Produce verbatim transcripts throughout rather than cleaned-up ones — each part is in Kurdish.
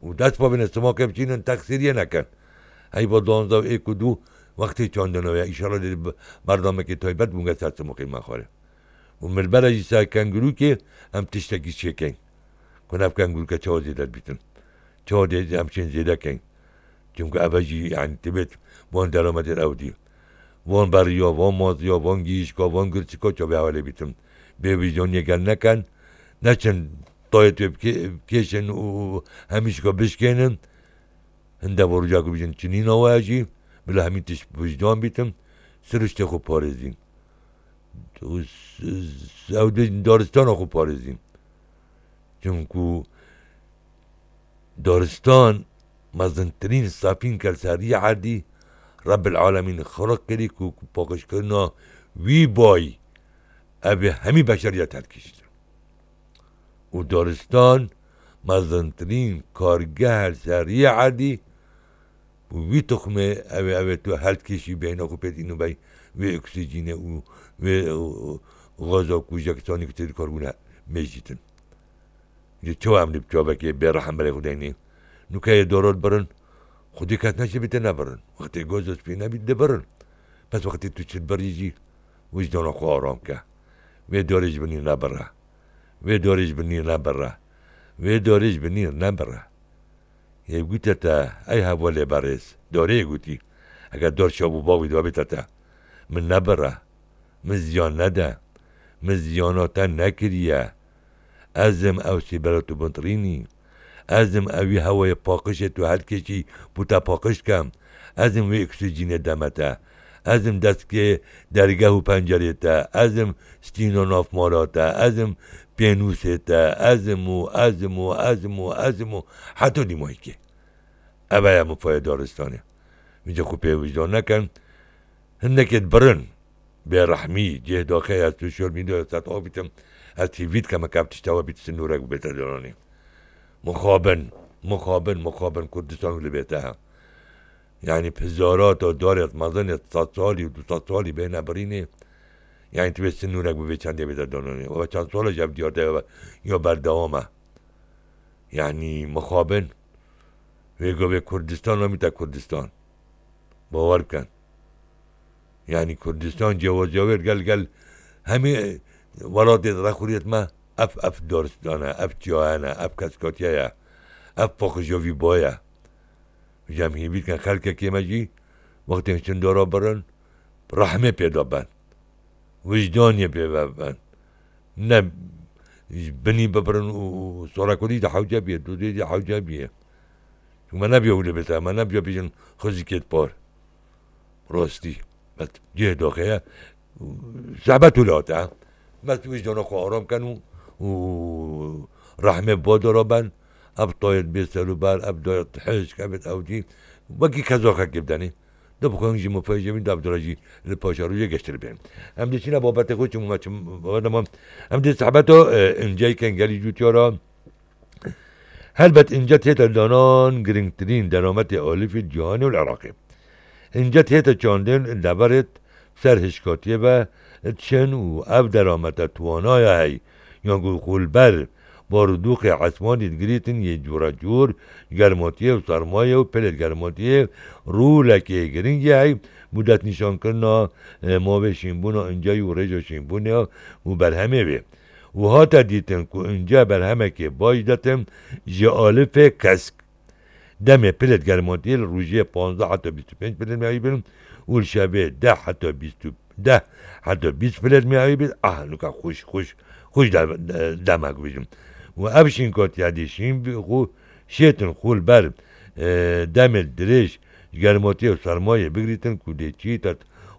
Û dest bavêne simokê biçînin, texsîriyê nekin. Heyva duwazdeh û êk û du wextê çandina ye. Înşallah dê bi-, berdamekê taybet bûnge ser simokê me xwarê. Û mirbere jî ser kengurûkê em tiştekî çêkeyn. Ku ev kengurûke çawa zêde dibîtin? Çawa dê em çên zêde keyn? Çimku eve jî, yanî, tibêt van deramedê ew dî. Van beriya, van maziya, van giyişka, van girçika çavê hevalê bîtin. Bê wijdaniyê gel neken, neçin tayê tu bikê-, bikêşin û hemîşka bişkênin. Hinde bo roja ku bijin çinîna we jî, bila hemî tişt bi wijdan bîtin, siriştê xwe parêzîn. Û s-, s-, ew dê daristana xwe parêzîn. Çimku daristan mezintirîn safîn kel serî erdî Rebbil Alemîn xiliq kirî ku, ku paqijkirina wî bay ev ê hemî beşeriyet herdikişîtin. Û daristan mezintirîn kargeh li ser riyê erdî û wî tuxmê ew ê, ew ê tu herdikişî beyna xwe pêt îno bey wê oksîjînê û wê, û, û gaza ku jek sanî ku têdî karbûne mêjîtin. Ji çawa em li çavekê bê rehim berê xwe deynê? Nûke yê dorot birin, xwedî kes neşibîte nebirin. Wextê gozo spî nebît dibirin. Bes wextê tu çi dibirî jî wijdana xwe aram ke. Wê dorê ji binî nebire. Wê dorê ji binî nebire. Wê dorê ji binî nebire. Yê gute te, ey hevalê berêz, dorê yê gotî, eger dor şav û bav wî dibabîte te, min nebire, min ziyan nede, min ziyana te nekiriye. Ez im ew sîbela tu bintirînî. Ez im ewî hewayê paqijê tu herdikêşî bû te paqij dikem. Ez im wê oksîjînê deme te. Ez im destgê dergeh û pencerê te. Ez im stîna nav mala te. Ez im pênûsê te. Ez im û ez im û ez im û ez im û heta dîmahîkê. Ev e mifayê daristanê. Vîca xwe pê wijdan nekin. Hindekê dibirin. Bêrehmî, cih daxê ez sosyal medyaya ser av bitim, ez hêvî dikim, heke ev tişta we bît, sinûrek bibête dananê. Mixabin, mixabin, mixabin Kurdistan wî li bête he. Yanî pizarata darê mezin ê sed salî û du sed salî bêne birînê. Yanî tu bê sinûrek bi vê çendê bête dananê. Û çend sal e ji ev diyar de ya berdewam e. Yanî mixabin. Wê govê Kurdistan namîte Kurdistan. Bawer bikin. Yanî Kurdistan cêwaziya wê gel gel hemî welatê rexuriyet me ev, ev daristan e, ev çiyayan e, ev keskatiye ye, ev paqijovî boye. Ji em hêvî dikin xelkekê me jî wextên şindara birin, rehmê pê de ben. Wijdanê pê ve ben. Ne ji binî bibirin û, û sorekurî de hewce bîye, dûdê de hewce bîye. Çû me nebiya wile bête, me nebiya bêjin xizikêt par. Rastî. Bes cihê daxê ye. Zehmet wile hate, he. Bes wijdana xwe aram ken û, û rehmê badara ben. Ev tayet bê serûber, ev dayet hişk, ev ew cî. Wekî kezaxekê bidenê. De bixwin jî mifayê jê bîn, de ev dira jî li paşa rojê geştir bên. Em dê çîne babetê xwe çû me çim, babetê me. Em dê zehmeta, e, inceyken gelî cûtiyara. Helbet ince tête danan girîngtirîn derametê alîfî cîhanê û li Iraqê. Ince tête çandên deverêt ser hişkatiyê ve diçin û ev deramete tuwanaya hey, yan ku xwe li ber barûdûxê esmanî digirîtin yê cûrecûr, germatiyê û sermayê û pilêt germatiyê rûlekê girîngî hey, bû destnîşankirina, e, mavê şînbûna inceyî û rêja şînbûnê û berhemê wê. Û hate dîtin ku ince berhemekê baş detin ji alifê kesk. Demê pilêt germatiyê li rojê panzdeh heta bîst û pênc pilêt meyayî bin û li şevê deh heta bîst û, deh heta bîst pilêt meyayî bin. Ah, nuka xweş, xweş, xweş de-, de-, demek bijim. Û ev şînkatiya dê şîn bi xwe şêtin xwe li ber, e, demê dirêj ji germatiyê û sermayê bigirîtin ku dê çî te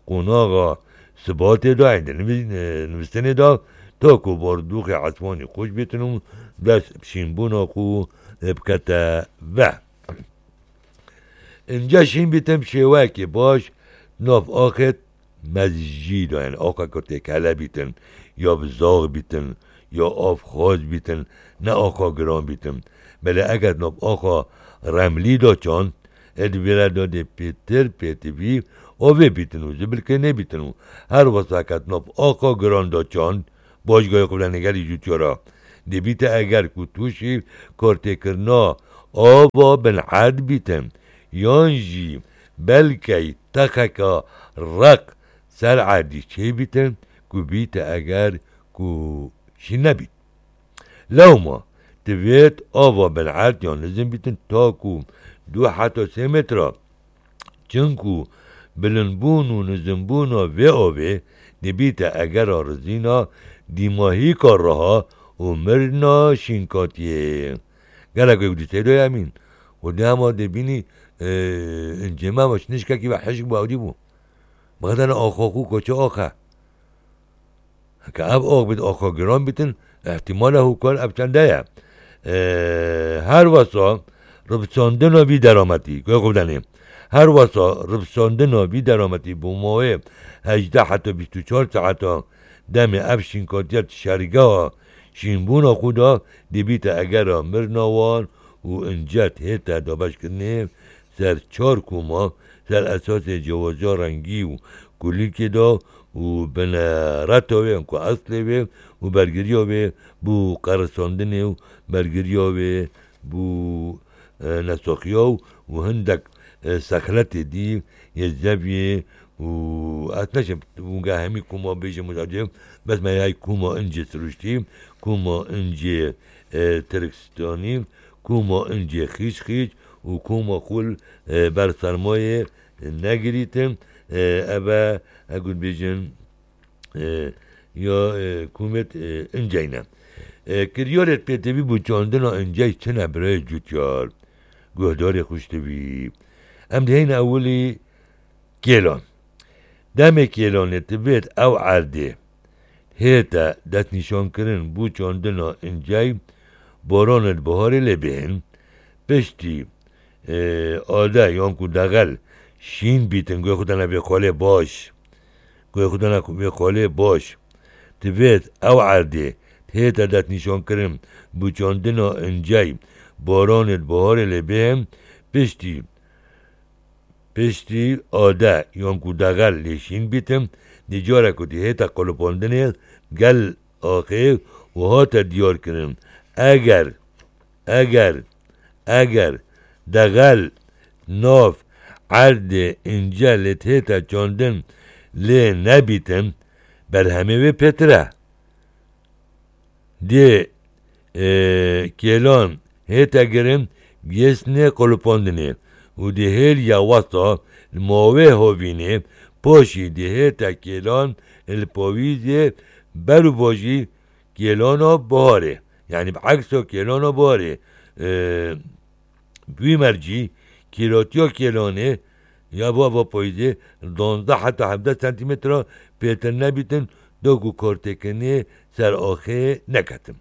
qonaxa sibatê de, ên di nivî-, e, nivîstinê de, ta ku bordûxê esmanî xweş bêtin û dest şînbûna xwe bikete ve. Ince şîn bîtin bi şêweyekê baş, nav axê mezijî de, yani axa ku têkele bîtin, ya bi zax bîtin, ya av xaz bîtin, ne axa giran bîtin. Belê eger nav axa remlî de çand, ê di vê re de dê pêtir pêtivî avê bîtin û zibilkê nebîtin û her wesa ket nav axa giran de çand, Baş gayê xwe bide nêgerî jûtiya re. Dê bîte eger ku tu jî kartêkirina ava bin erd bîtin, yan jî belkey texeka req ser erdî çêbîtin ku bîte eger ku şîn nebît. Lewma divêt ava bin erd yan nizim bîtin ta ku du heta sê metra. Çinku bilindbûn û nizimbûna vê avê dibîte egera rizîna dîmahîka riha û mirina şînkatiyê. Gelek wê dîteyê doye emîn. Û dema dê bînî, e, incê me baş nişkekî ve hişk bû, ewdî bû. Bixetene axa xû koçê axe. Heke ev ax bit, axa giran bitin, îhtîmala hûkar ev çende ye. E, her wesa ribsandina vî derametî, guhê xwe bidenê. Her wesa ribsandina vî derametî bo mawê hejdeh heta bîst û çar saeta demê ev şînkatiya şergeha şînbûna xwe da dibîte egera mirina wan û ince hête dabeşkirinê ser çar koma, ser esasê cewaziya rengî û kulîlkê de û binereta wê, ku eslê wê û bergiriya wê bû qerisandinê û bergiriya wê bû, e, nesaxiya û hindek, e, sexletê dî yê zeviyê û ez neşim wûnga hemî koma bêjim û bes me yay koma incê siruştî, koma incê, e, Tirkistanî, koma incê xîç xîç û koma xul, e, ber sermayê negirîtin, e, eve, e, got bêjin, e, ya, e, kumêt, e, inceyne. E, kiryarêt pêtivî bû çandina incey çine birayê cutyar. Guhdarê xuştivî. Em diheyne ewilî kêlan. Demê kêlanê divêt ew erdê hête destnîşankirin bû çandina incey, boranê di biharê lê bihên, piştî, e, ade yan ku dexel şîn bîtin, guhê xwe dane vê xalê baş. Guhê xwe dane vê xalê baş. Divêt ew erdê hête destnîşankirin bû çandina incey, boranê di biharê lê bihên, piştî Piştî ade yan ku dexel lê şîn bîtin, dê cara ku dê hête qulipandinê gel axê û hate diyar kirin. Eger, eger, eger dexel nav erdê ince lê hête çandin lê nebîtin, berhemê wê pêtir e. Dê, e, kêlan hête girin, gêsnê qulipandinê û dê hêl ya westa li mawê hovînê, paşî dê hête kêlan li pawîzê ber û bajî kêlana biharê. Yanî bi eksa kêlana biharê, e, Wî mercî kîratiya kêlanê ya bo eva payîzê duwazdeh heta hevdeh sentîmetre pêtir nebîtin, da ku kartêkirinê ser axê neketin.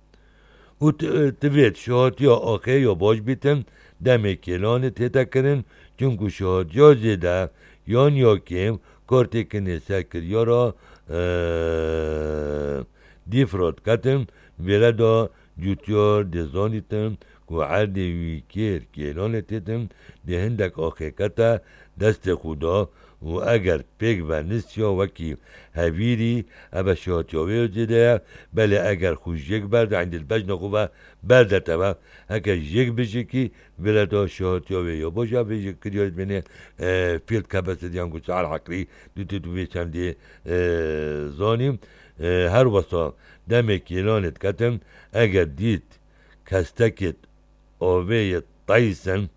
Û ti-, tivêt şihatiya axê ya baş bîtin, demê kêlanê tête kirin, çinku şihatiya zêde yan ya kêm kartêkirinê ser kiryara, eee, dîf re diketin, vêre de cûtiyar dê zanîtin ku erdê wî kêr kêlanê têtin, dê hindek axê kete destê xwe de û eger pêk ve nisiya wekî hevîrî, eve şihatiya wê zêde ye, belê eger xwe jêk berde, endî li bejna xwe ve berde teve, heke jêk bijikî, vêre de şihatiya wê ya baş e, vê jêkiriyarê dibêne, e, field capacity yan ku sial heqrî, dû tu vê çendê, e, zanî. E, her wesa demê kêlanê diketin, eger dît kestekê avê yê teysin,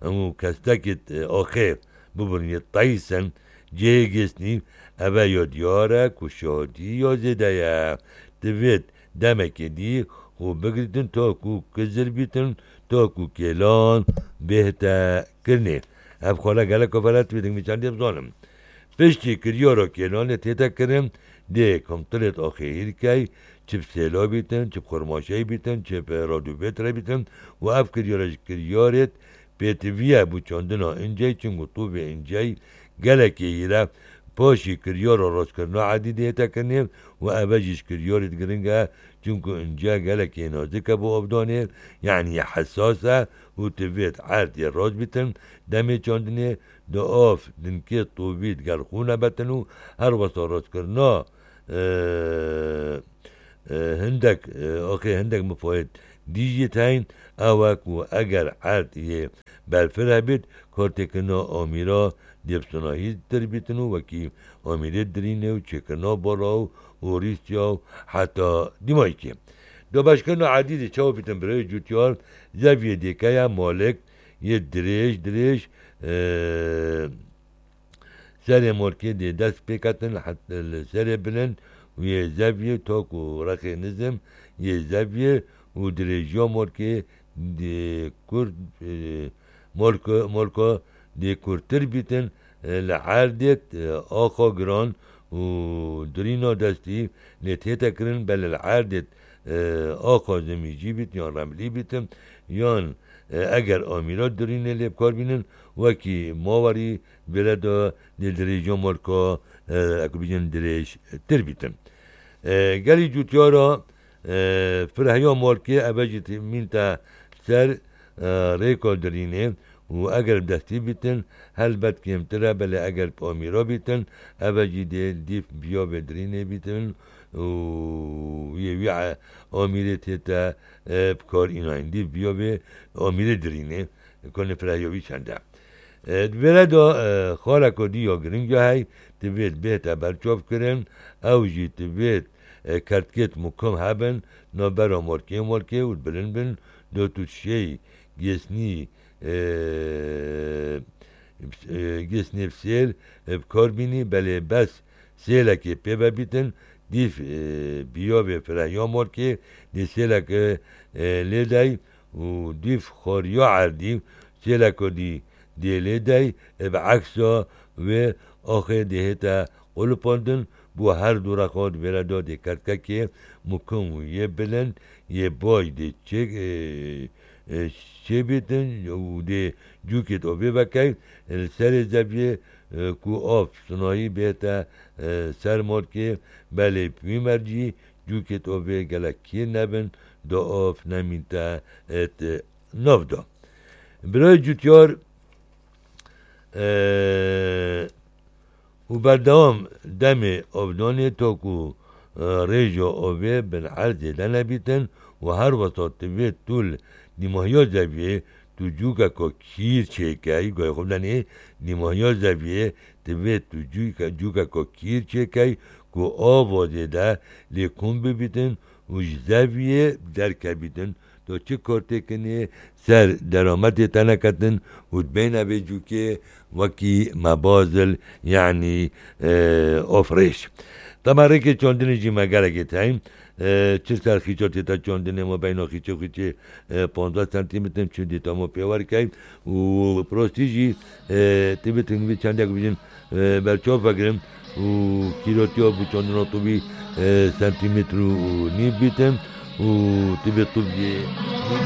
û kestekê, e, axê bibûn yê teysin, cihê gêsnî, eve ya diyar e ku şadî ya zêde ye. Divêt demekê dî xwe bigirîtin ta ku kizir bîtin, ta ku kêlan bêhte kirinê. Ev xala gelek kofele divêt, min çendê bizanim. Piştî kiryara kêlanê tête kirin, dê komtirêt axê hîrkey, çi bi sêla bîtin, çi bi xurmaşey bîtin, çi bi radûbêt re bîtin û ev kiryara ji kiryarêt pêtivî ye bû çandina incey, çinku tûvê incey gelekê hîr e. Paşî kiryara rostkirina edî dê hête kirinê û eve jî ji kiryarêt giring e, çinku ince gelekê nazik e bo avdanê, yanî hesas e û divêt erdê rast bîtin, demê çandinê, di av dinkê tovî digel xwe nebetin û her wesa rastkirina, e, e, hindek, e, axê hindek mifayet Dî jî teyn ew e ku eger erd yê berfireh bît, kartêkirina amîra dê bi sinahî tir bîtin û wekî amîrê dirînê û çêkirina bala û, û Rîsya û heta dîmayikê. Dabeşkirina erdî dê çawa bîtin birayê cûtyar, zeviyê dêkeya malik yê dirêj, dirêj, e, serê morkê dê dest pê ketin, het-, li serê bilind û yê zeviyê tok û rexê nizim yê zeviyê û dirêjiya morkê dê kurt, e, morko-, morko dê kurtir bîtin, e, li erdê, e, axa giran û dirîna destî lê tête kirin, belê li erdê, e, axa zimîjî bît yan remlî bîtin, yan, e, eger amîra dirînê lê bi kar bînin, wekî mawerî vêre de dê dirêjiya morka, e, ek bîjin dirêj tir bîtin. E, gelî cûtyara, e, firehya morkê eve jî tî-, mînte ser, e, rêka dirînê û eger bi destî bîtin, helbet kêmtir e, belê eger bi amîra bîtin, eve jî dê dîf biyavê dirînê bîtin û yê wî e-, amîrê tête, e, bi kar înayîn. Dîf biyavê amîrê dirînê, konê firehya wî çend e. E, di vêre de, e, xaleko dî ya giring ya hey, divêt bêhte berçavkirin, ew jî divêt, e, kertkêt mukim hebin, navbera morkê morkê û bilind bin, do tu şêy gêsnî, e, e, gêsnê bi sêl, e, bi kar bînî, belê bes sêlekê pê vebîtin, dîf, e, biyavê firehya morkê, dê sêleke, e, lê dey û dîf xwariya erdî sêleko dî dê lê dey, e, bi eksa wê axê dê hête qulipandin, bo her du rexa di vêre de dê kertkekê mukim û yê bilind, yê bay dê çê, e, e, çêbîtin û dê cûkêt ovê vekey, e, li serê zeviyê, e, ku av sinayî bête, e, ser morkê, belê wî mercî cûkêt ovê gelek kîr nebin, do av nemînte, e, nav de. Birayê cûtyar, e, û berdewam demê avdanê to ku, e, rêja avê bin erd zêde nebîtin û her wesa divê tu li nîmahiya zeviyê tu cûkeka kîr çêkey, gayê xwe bidenê, nîmahiya zeviyê divê tu cûke-, cûkeka kîr çêkey ku ava zêde lê kom bibîtin û ji zeviyê derkevîtin. Do çi kortêkinê ser derametê te neketin û dibeyne vê cûkê wekî mebazil, yanî, e, ofrêş. Tema rêkê çandinê jî me gelekê teyn. E, çi ser xîça tête çandinê, ma beyna xîçê xîçê, e, panzdeh sentîmetr, çi dî tamo pêwer key û prostî jî, e, tibîtin vî çendek bijin, e, berçav vegirin û kîrotiya bi çandina tubî, e, sentîmetr û nîv bîtin û tibê tubiyê